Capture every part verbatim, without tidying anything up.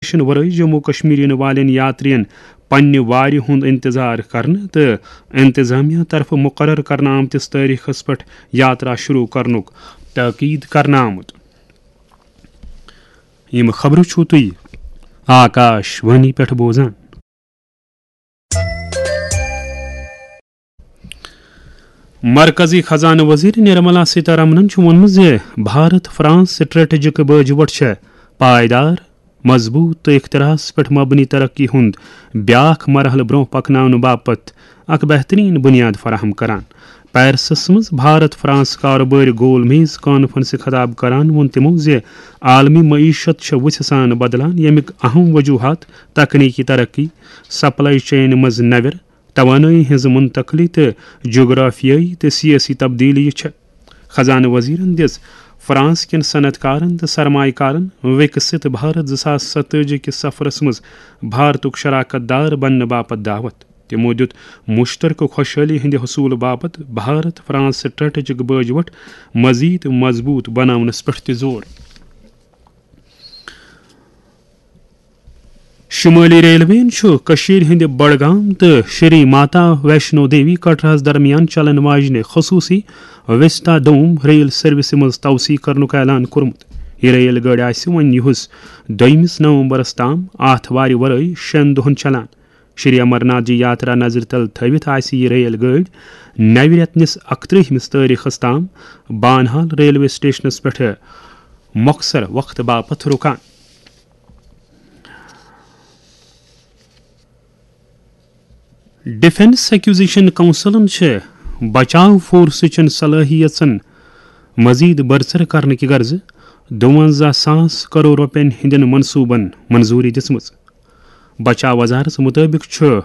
ورٲے جموں کشمیر یِنہٕ والٮ۪ن یاترین پننہِ وارِ ہُنٛد انتظار کرنہٕ تہٕ انتظامیہ طرفہٕ مقرر کرنہٕ آمتِس تٲریخس پٮ۪ٹھ یاترا شروع کرنُک تاکید کرنہٕ آمُت۔ یِم خبرٕ چھِو تُہۍ آکاش وانی پٮ۪ٹھ بوزان۔ مرکزی خزانہٕ وزیر نرملا سیتارامنن چھُ ووٚنمُت زِ بھارت فرانس سٹریٹجک باجہِ وٹھ چھےٚ پائیدار، مضبوط تہٕ اختراعس پٮ۪ٹھ مبنی ترقی ہُنٛد بیاکھ مرحلہٕ برٛونٛہہ پکناونہٕ باپتھ اکھ بہترین بنیاد فراہم کران۔ پیرسس منٛز بھارت فرانس کارٕبٲرۍ گول میز کانفرنسہِ خطاب کران ووٚن تِمو زِ عالمی معیشت چھےٚ وُژھِ سان بدلان، ییٚمیُک اہم وجوہات تکنیکی ترقی، سپلائی چین منٛز نوٮ۪ر، توانٲیی ہٕنٛز منتقلی تہٕ جغرافیٲیی تہٕ سیٲسی تبدیلی چھےٚ۔ خزانہٕ وزیرن دِژ فرانس کٮ۪ن صنعت کارن تہٕ سرمایہ کارن وِکسِت بھارت زٕ ساس ستٲجی کِس سفرس منٛز بھارتُک شراکت دار بننہٕ باپتھ دعوت۔ تِمو دِیُت مشترکہٕ خۄشحٲلی ہٕنٛدِ حصوٗلہٕ باپتھ بھارت فرانس سٹریٹجک باجہِ وٹھ مزید مضبوط بناونس پٮ۪ٹھ تہِ زور۔ شمٲلی ریلویَن چھُ کٔشیٖرِ ہٕنٛدِ بڈگام تہٕ شری ماتا ویشنو دیوی کٹراہَس درمیان چلن واجنہِ خصوٗصی وستا دوم ریل سروسہِ منٛز توسیع کرنُک اعلان کوٚرمُت۔ یہِ ریل گٲڑۍ آسہِ وۄنۍ یِہُس دوٚیمِس نومبرَس تام آتھوارِ ورٲے شٮ۪ن دۄہَن چلان۔ شری امرناتھ جی یاترا نظرِ تل تھٲوِتھ آسہِ یہِ ریل گٲڑۍ نوِ رٮ۪تہٕ نِس اَکترٛہمِس تٲریخَس تام بانہال ریلوے سٹیشنَس پٮ۪ٹھ مۄخصر وقتہٕ باپتھ رُکان۔ ڈیفنس ایکوزیشن کونسلن چھِ بچاو فورسٕچن صلٲحیژن مزید برسر کرنہٕ کہِ غرضہٕ دُوَنزاہ ساس کرور رۄپین ہٕنٛدٮ۪ن منصوٗبن منظوٗری دِژمٕژ۔ بچاو وزارتس مُطٲبِق چھُ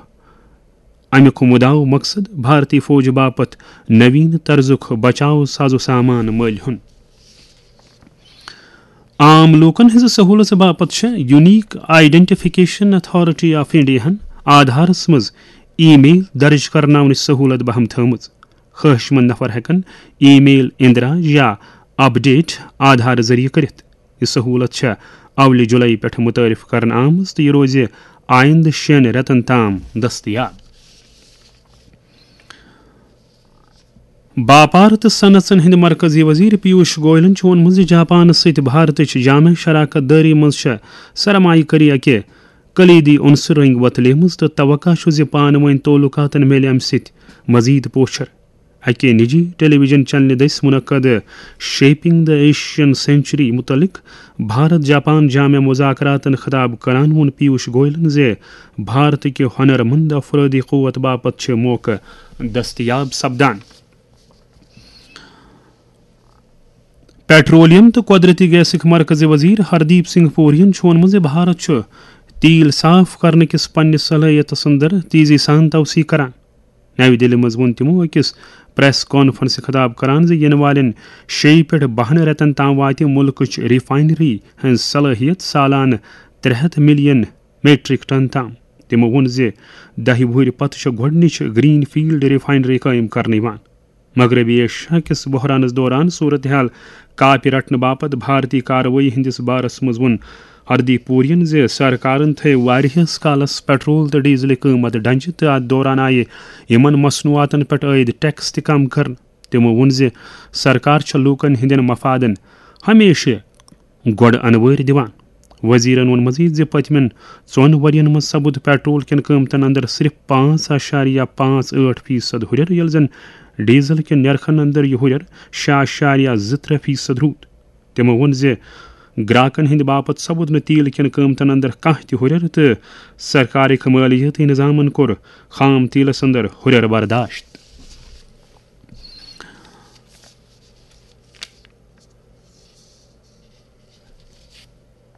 اَمیُک مُدعا و مقصد بھارتی فوج باپتھ نوین طرزُک بچاو ساز و سامان مٔلۍ ہُن۔ عام لوٗکن ہٕنٛزِ سہوٗلژ باپتھ چھےٚ یونیک آئیڈینٹیفکیشن اتھارٹی آف انڈیاہن آدھارس منٛز ای میل درج کرناونٕچ سہوٗلت بہم تھٲومٕژ۔ خواہش مند نفر ہٮ۪کن ای میل اندراج یا اپڈیٹ آدھار ذٔریعہٕ کٔرِتھ۔ یہِ سہوٗلت چھےٚ اولہِ جُلایی پٮ۪ٹھ متعارف کرنہٕ آمٕژ تہٕ یہِ روزِ آیندٕ شٮ۪ن رٮ۪تن تام دٔستیاب۔ باپار تہٕ صنعژن ہٕنٛدۍ مرکزی وزیر پیوش گوئلن چھُ ووٚنمُت زِ جاپانس سۭتۍ بھارتٕچ جامع شراکت دٲری منٛز چھےٚ سرمایہ کٲری اکہِ کلیدی عنصر رنگۍ وۄتلیمٕژ تہٕ توقع چھُ زِ پانہٕ وٲنۍ تعلقاتن میلہِ امہِ سۭتۍ مزید پوچھر۔ اکہِ نجی ٹیلی ویژن چینلہِ دٔسۍ منعقد شیپنگ دی ایشین سینچری متعلق بھارت جاپان جامع مذاکراتن خطاب کران ووٚن پیوش گوئلن زِ بھارت کہِ ہنر مند افرٲدی قوت باپتھ چھِ موقعہٕ دٔستیاب سپدان۔ پیٹرولیم تہٕ قۄدرٔتی گیسٕکۍ مرکزی وزیر ہردیپ سنگھ پورین چھُ ووٚنمُت زِ بھارت چھُ تیل صاف کرنہٕ کِس پننِس صلٲحیتس اندر تیزی سان توسیع کران۔ نَوِ دِلہِ منٛز ووٚن تِمو أکِس پریس کانفرنسہِ خطاب کران زِ یِنہٕ والٮ۪ن شیٚیہِ پٮ۪ٹھ بَہَن رٮ۪تن تام واتہِ مُلکٕچ ریفائنری ہٕنٛز صلٲحیت سالانہٕ ترٛےٚ ہَتھ ملین میٹرک ٹن تام۔ تِمو ووٚن زِ دَہہِ وُہٕرۍ پتہٕ چھےٚ گۄڈٕنِچ گرین فیلڈ ریفائنری قٲیِم کرنہٕ یِوان۔ مغربی ایشیا کِس بحرانس دوران صورتحال کاپہِ رٹنہٕ باپتھ بھارتی کاروٲیی ہٕنٛدِس بارس منٛز ووٚن ہردیپ پورین زِ سرکارن تھٲوۍ واریاہس کالس پیٹرول تہٕ ڈیزلٕکۍ قۭمت ڈنجہِ تہٕ اتھ دوران آیہِ یِمن مصنوعاتن پٮ۪ٹھ عٲید ٹیکس تہِ کم کرنہٕ۔ تِمو ووٚن زِ سرکار چھےٚ لوٗکن ہٕنٛدٮ۪ن مفادن ہمیشہٕ گۄڈٕ انوٲرۍ دِوان۔ وزیرن ووٚن مزید زِ پٔتمٮ۪ن ژۄن ؤرین منٛز سپُد پیٹرول کٮ۪ن قۭمتن اندر صرف پانٛژھ اعشاریہ پانٛژھ ٲٹھ فیصد ہُرٮ۪ر، ییٚلہِ زن ڈیزل کٮ۪ن نرخن اندر یہِ ہُرٮ۪ر شےٚ اعشاریہ زٕ ترٛےٚ فیصد روٗد۔ تِمو ووٚن زِ گراکن ہٕنٛدِ باپتھ سپُد نہٕ تیل کٮ۪ن قۭمتن اندر کانٛہہ تہِ ہُرٮ۪ر تہٕ سرکارٕکۍ مٲلیٲتی نظامن کوٚر خام تیلس اندر ہُرٮ۪ر برداشت۔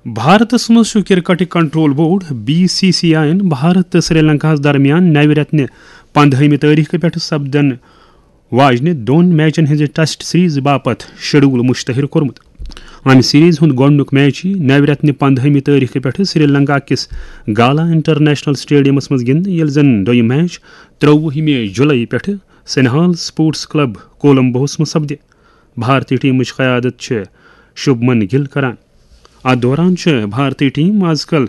بھارتس منٛز چھُ کرکٹٕکۍ control board, B C C I یَن بھارت تہٕ سری لنکاہَس درمیان نَوِ رٮ۪تہٕ نہِ پنٛدہٲیمہِ تٲریخہٕ پٮ۪ٹھ سپدن واجنہِ دۄن میچن ہٕنٛزِ ٹیسٹ سیریز باپتھ شیڈول مشتہر کوٚرمُت۔ امہِ سیریز ہُنٛد گۄڈٕنیُک میچ یِیہِ نَوِ رٮ۪تہٕ نہِ پنٛدہٲیمہِ تٲریخہٕ پٮ۪ٹھ سری لنکا کِس گالا انٹرنیشنل سٹیڈیمس منٛز گِنٛدنہٕ، ییٚلہِ زن دوٚیُم میچ ترٛۆوُہمہِ جُلایی پٮ۪ٹھ سنہال سپورٹس کلب کولمبوہَس منٛز سپدِ۔ بھارتی ٹیمٕچ قیادت چھِ شُبمن گِل کران۔ اتھ دوران چھِ بھارتی ٹیم از کل